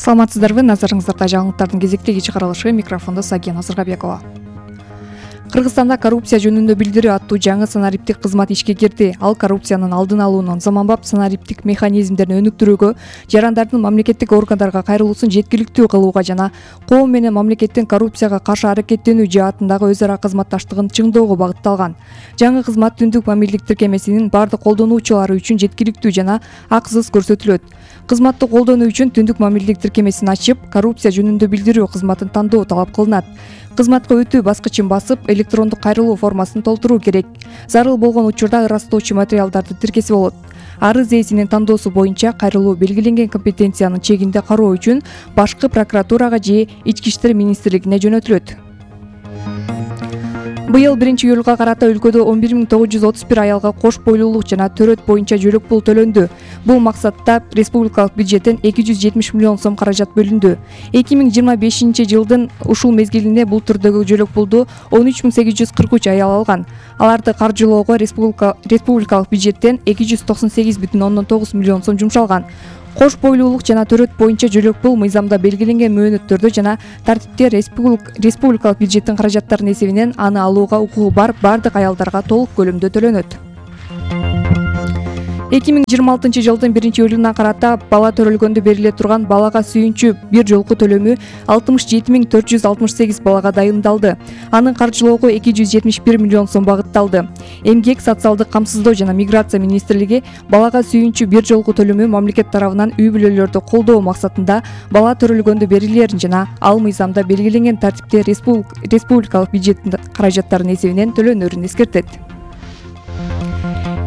Саламатсыздарбы, назарыңыздарда жаңылыктардын кезектеги чыгарылышы, микрофондо Сагия Назарбекова. Кыргызстанда коррупция жөнүндө билдирүү аттуу жаңы санариптик кызмат ишке кирди. Ал коррупциянын алдын алуунун заманбап санариптик механизмдерин өнүктүрүүгө, жарандардын мамлекеттик органдарга кайрылуусун жеткиликтүү кылууга жана коом менен мамлекеттин коррупцияга каршы аракеттенүү жаатындагы өз ара кызматташтыгын чыңдоого багытталган. Жаңы кызмат түндүк мамилдик тиркемесинин бардык колдонуучулары үчүн жеткиликтүү жана акысыз көрсөтүлөт. Кызматты колдонуу үчүн түндүк мамилдик тиркемесин ачып, коррупция жөнүндө билдирүү кызматын тандоо талап кылынат. Кызматка өтүү баскычын басып, электрондук кайрылуу формасын толтуруу керек. Зарыл болгон учурда ырастоочу материалдарды тиркесе болот. Арыз ээсинин тандоосу боюнча кайрылуу белгиленген компетенциянын чегинде кароо үчүн башкы прокуратурага же Ички иштер министрлигине жөнөтүлөт. Быйыл 1-июлга карата өлкөдө 11931 аялга кош бойлуулук жана төрөт боюнча жөлөк пул төлөндү. Бул максатта республикалык бюджеттен 270 миллион сом каражат бөлүндү. 2025 жылдын ушул мезгилинде бул түрдөгү жөлөк пулду 13843 аял алган. Аларды каржылоого республикалык бюджеттен 298,9 миллион сом жумшалган. Кош бойлуулук жана төрөт боюнча жөлөк пул мыйзамда белгиленген мөөнөттөрдө жана тартипте республикалык бюджеттин каражаттарынын эсебинен аны алууга укугу бар бардык аялдарга толук көлөмдө төлөнөт. 2026 жылдын 1-июлунан карата бала төрөлгөндө бериле турган балага сүйүнчү бир жолку төлөмү 67468 балага дайындалды. Анын каржылоого 271 миллион сом багытталды. Эмгек, социалдык камсыздоо жана миграция министрлиги балага сүйүнчү бир жолку төлөмү мамлекет тарабынан үй бүлөлөрдү колдоо максатында бала төрөлгөндө берилерин жана ал мыйзамда белгиленген тартипте республикалык бюджеттин каражаттарынын эсебинен төлөнөрүн эскертет.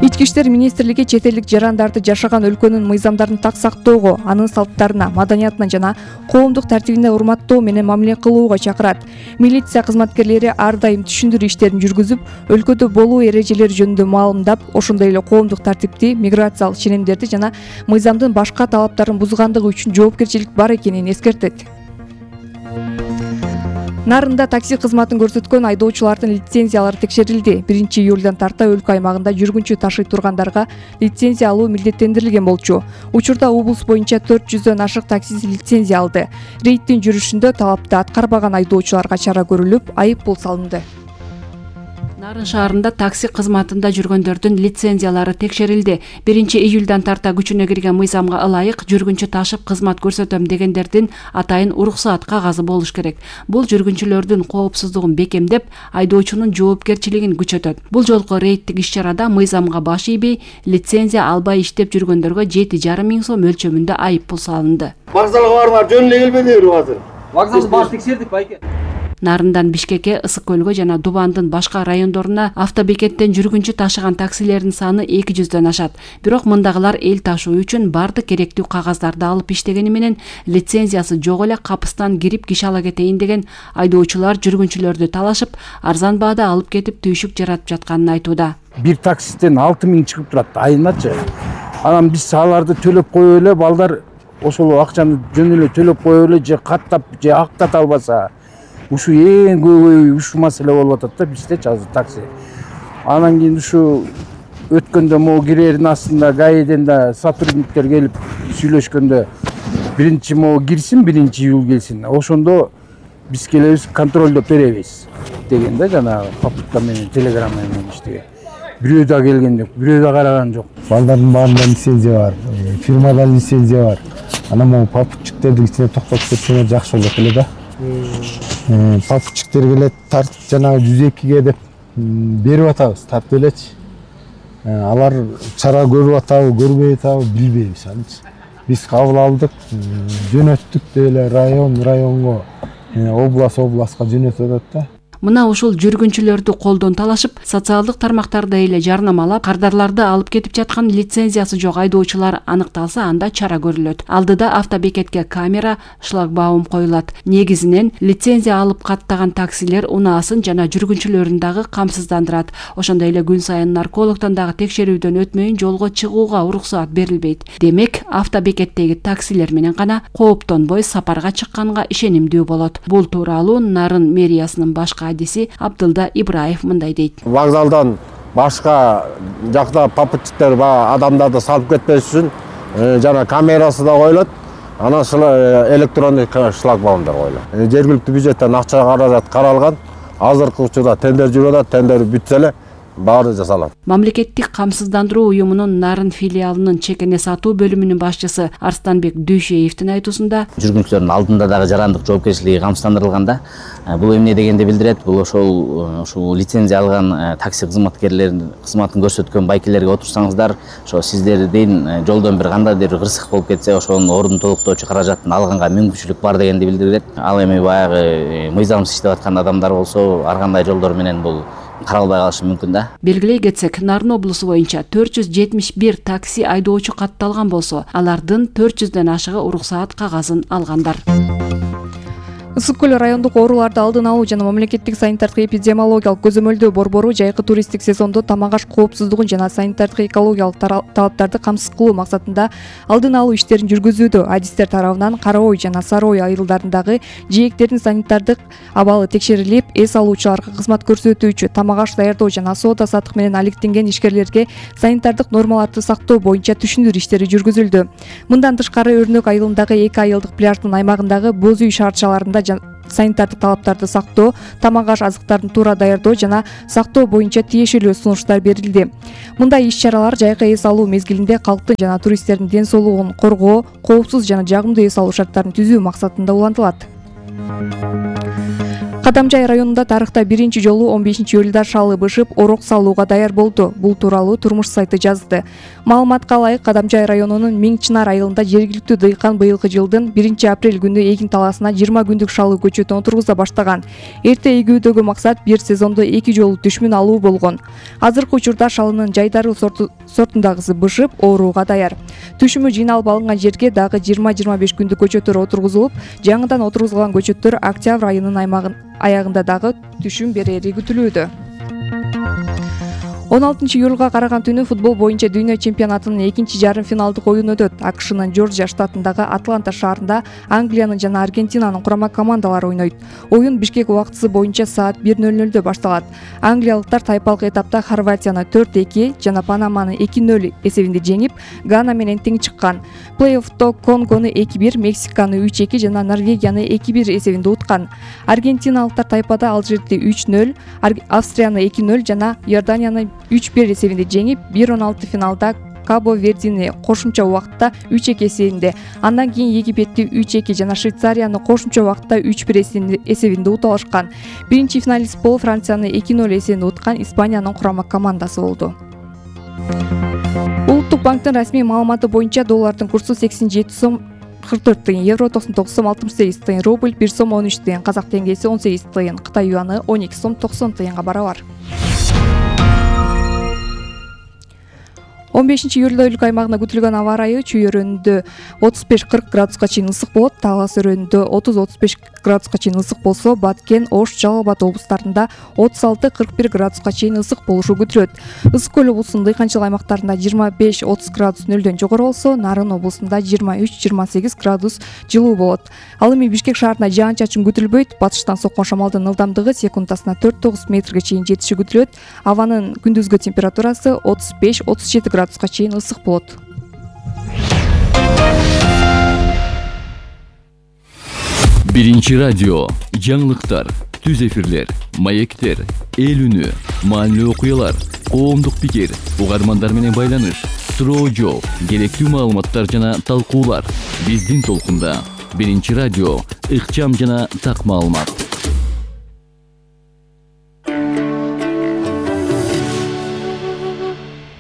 Ички иштер министрлиги чет элдик жарандарды жашаган өлкөнүн мыйзамдарын так сактоого, анын салттарына, маданиятына жана коомдук тартибине урматтоо менен мамиле кылууга чакырат. Милиция кызматкерлери ар дайым түшүндүрүү иштерин жүргүзүп, өлкөдө болуу эрежелери жөнүндө маалымдап, ошондой эле коомдук тартипти, миграциялык ченемдерди жана мыйзамдын башка талаптарын бузгандыгы үчүн жоопкерчилик бар экенин эскертет. Нарында такси кызматын көрсөткөн айдоочулардын лицензиялары текшерилди. 1-июлдан тарта өлкө аймагында жүргүнчү ташый тургандарга лицензия алуу милдеттендирилген болчу. Учурда облус боюнча 400дөн ашык таксист лицензия алды. Рейдтин жүрүшүндө талапты аткарбаган айдоочуларга чара көрүлүп, айып пул салынды. Нарын шаарында такси кызматында жүргөндөрдүн лицензиялары текшерилди. 1-июлдан тарта күчүнө кирген мыйзамга ылайык жүргүнчү ташып кызмат көрсөтөм дегендердин атайын уруксаат кагазы болуш керек. Бул жүргүнчүлөрдүн коопсуздугун бекемдеп, айдоочунун жоопкерчилигин күчөтөт. Бул жолку рейдтик иш-чарада мыйзамга баш ийбей, лицензия албай иштеп жүргөндөргө 7,5 миң сом өлчөмүндө айып пул салынды. Вокзалга барыңар, жөн эле келбедиңер азыр. Вокзалды баш текшердик байке. Нарындан Бишкекке, Ысык көлгө жана Дубандын башка райондоруна автобекеттен жүргүнчү ташыган таксилердин саны 200дөн ашат. Бирок мындагылар эл ташуу үчүн бардык керектүү кагаздарды алып иштегени менен лицензиясы жок эле капыстан кирип киши ала кетейин деген айдоочулар жүргүнчүлөрдү талашып, арзан баада алып кетип түйшүк жаратып жатканын айтууда. Бир таксистен 6 миң чыгып турат айыначы. Анан биз аларды төлөп коюп эле, балдар ошол акчаны жөн эле төлөп коюп эле же каттап же актата албаса ушу эң көбөй ушу маселе болуп атат да биздечи азыр такси. Анан кийин ушу өткөндө могу кирердин астында гаиден да сотрудниктер келип сүйлөшкөндө биринчи могу кирсин, 1-июл келсин. Ошондо биз келебиз, контролдоп беребиз деген да жанагы попутка менен, телеграмма менен иштеген. Бирөө да келген жок, бирөө да караган жок. Балдардын баарында лицензия бар, фирмадан лицензия бар. Анан могу попутчиктердин ичине токтотуп кетсеңер жакшы болот эле да. Попутчиктер келет, тартып жанагы 102ге деп берип атабыз, тартып элечи. Алар чара көрүп атабы, көрбөй атабы билбейбиз анчы. Биз кабыл алдык, жөнөттүк деле районго, областка жөнөтүп атат да. Мына ушул жүргүнчүлөрдү колдон талашып, социалдык тармактарда эле жарнамалап, кардарларды алып кетип жаткан лицензиясы жок айдоочулар аныкталса, анда чара көрүлөт. Алдыда автобекетке камера, шлагбаум коюлат. Негизинен лицензия алып каттаган таксилер унаасын жана жүргүнчүлөрүн дагы камсыздандырат. Ошондой эле күн сайын наркологдон дагы текшерүүдөн өтмөйүн жолго чыгууга уруксаат берилбейт. Демек, автобекеттеги таксилер менен гана кооптонбой сапарга чыкканга ишенимдүү болот. Бул тууралуу Нарын мэриясынын башкы адиси Абдылда Ибраев мындай дейт. Вокзалдан башка жакта попутчиктер адамдарды салып кетпеш үчүн жана камерасы да коюлат. Анан электрондук шлагбаумдар коюлат. Жергиликтүү бюджеттен акча каражат каралган. Азыркы учурда тендер жүрүп атат. Тендер бүтсө эле баары жасалат. Мамлекеттик камсыздандыруу уюмунун Нарын филиалынын чекене сатуу бөлүмүнүн башчысы Арстанбек Дүйшеевдин айтуусунда жүргүнчүлөрдүн алдында дагы жарандык жоопкерчилиги камсыздандырылганда, бул эмне дегенди билдирет? Бул ушул лицензия алган такси кызматкерлеринин кызматын көрсөткөн байкелерге отурсаңыздар, ошо сиздердин жолдон бир кандайдыр кырсык болуп кетсе, ошонун ордун толуктоочу каражатын алганга мүмкүнчүлүк бар дегенди билдирет. Ал эми баягы мыйзамсыз иштеп аткан адамдар болсо, ар кандай жолдор менен бул каралбай калышы мүмкүн да. Белгилей кетсек, Нарын облусу боюнча 471 такси айдоочу катталган болсо, алардын 400дөн ашыгы уруксаат кагазын алгандар. Ысык көл райондук ооруларды алдын алуу жана мамлекеттик санитардык эпидемиологиялык көзөмөлдөө борбору жайкы туристтик сезондо тамак аш коопсуздугун жана санитардык экологиялык талаптарды камсыз кылуу максатында алдын алуу иштерин жүргүзүүдө. Адистер тарабынан Кара Ой жана Сары Ой айылдарындагы жээктердин санитардык абалы текшерилип, эс алуучуларга кызмат көрсөтүүчү, тамак аш даярдоо жана соода саттык менен алектенген ишкерлерге санитардык нормаларды сактоо боюнча түшүндүрүү иштери жүргүзүлдү. Мындан тышкары Өрнөк айылындагы 2 айылдык пляждын аймагындагы боз үй шаарчаларында санитардык талаптарды сактоо, тамак аш азыктарын туура даярдоо жана сактоо боюнча тиешелүү сунуштар берилди. Мындай иш-чаралар жайкы эс алуу мезгилинде калктын жана туристтердин ден соолугун коргоо, коопсуз жана жагымдуу эс алуу шарттарын түзүү максатында улантылат. Кадамжай районунда тарыхта биринчи жолу 15-июлда шалы бышып, орок салууга даяр болду. Бул тууралуу Турмуш сайты жазды. Маалыматка ылайык, Кадамжай районунун Миң Чынар айылында жергиликтүү дыйкан быйылкы жылдын 1-апрель күнү эгин талаасына 20 күндүк шалы көчөтүн отургуза баштаган. Эрте эгүүдөгү максат бир сезондо 2 жолу түшмүн алуу болгон. Азыркы учурда шалынын жайдары сортундагысы бышып, ооруга даяр. Түшүмү жыйналып алынган жерге дагы 20-25 күндүк көчөттөр отургузулуп, жаңыдан отургузулган көчөттөр октябрь айынын аягында дагы түшүм берери күтүлүүдө. 16-июлга караган түнү футбол боюнча дүйнө чемпионатынын 2-жарым финалдык оюну өтөт. АКШнын Джорджия штатындагы Атланта шаарында Англиянын жана Аргентинанын курама командалары ойнойт. Оюн Бишкек убактысы боюнча саат 1:00 башталат. Англиялыктар тайпалык этапта Хорватияны 4-2 жана Панаманы 2-0 эсебинде жеңип, Гана менен тең чыккан. Плей-оффто Конгону 2-1, Мексиканы 3-2 жана Норвегияны 2-1 эсебинде уткан. Аргентиналыктар тайпада Алжирди 3-0, Австрияны 2-0 жана Иорданияны 3-1 эсебинде жеңип, 1-16 финалда Кабо-Вердини кошумча убакытта 3-2 эсебинде, андан кийин Египетти 3-2 жана Швейцарияны кошумча убакытта 3-1 эсебинде уталышкан. Биринчи финалист болуп Францияны 2-0 эсебинде уткан Испаниянын курама командасы болду. Улуттук банктын расмий маалыматы боюнча доллардын курсу 87 сом 44 тыйын, евро 99 сом 68 тыйын, рубль 1 сом 13 тыйын, казак теңгеси 18 тыйын, Кытай юаны 12 сом 90 тыйынга барабар. 15-июлда өлкө аймагына күтүлгөн аба ырайы чүй өрөөнүндө 35-40 градуска чейин ысык болот, Талас өрөөнүндө 30-35 градуска чейин ысык болсо, Баткен, Ош, Жалал Абад облустарында 36-41 градуска чейин ысык болушу күтүлөт. Ысык көл облусунун дыйканчылык аймактарында 25-30 градус нөлдөн жогору болсо, Нарын облусунда 23-28 градус жылуу болот. Ал эми Бишкек шаарына жаан-чачын күтүлбөйт. Батыштан соккон шамалдын ылдамдыгы секундасына 4-9 метрге чейин жетиши күтүлөт. Абанын күндүзгү температурасы 35-37 градуска чейин ысык болот. Биринчи радио, жаңылыктар, түз эфирлер, маектер, эл үнү, маанилүү окуялар, коомдук пикир, угармандар менен байланыш, суроо жооп, керектүү маалыматтар жана талкуулар. Биздин толкунда. Биринчи радио, ыкчам жана так маалымат.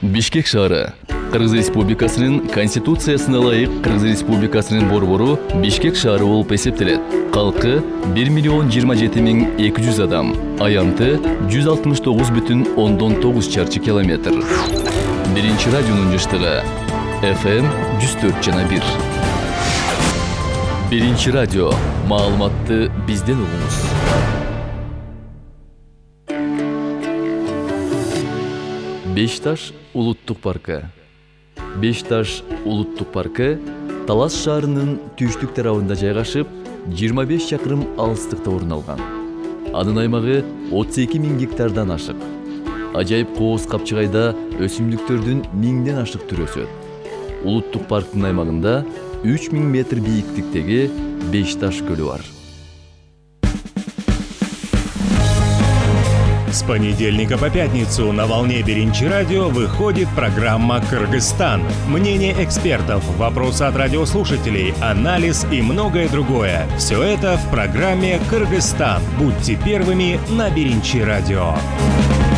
Бишкек шаары Кыргыз Республикасынын Конституциясына ылайык Кыргыз Республикасынын борбору Бишкек шаары болуп эсептелет. Калкы 1,027,200 адам, аянты 169,9 чарчы километр. Биринчи радионун жыштыгы FM 104,1. Биринчи радио, маалыматты бизден угуңуз. Бешташ улуттук паркы. Бешташ улуттук паркы Талас шаарынын түштүк тарабында жайгашып, 25 чакырым алыстыкта орун алган. Анын аймагы 32,000 гектардан ашык. Ажайып кооз капчыгайда өсүмдүктөрдүн 1000ден ашык түрү өсөт. Улуттук парктын аймагында 3000 метр бийиктиктеги Беш Таш көлү бар. С понедельника по пятницу на волне Биринчи радио выходит программа «Кыргызстан». Мнение экспертов, вопросы от радиослушателей, анализ и многое другое. Все это в программе «Кыргызстан». Будьте первыми на Биринчи радио.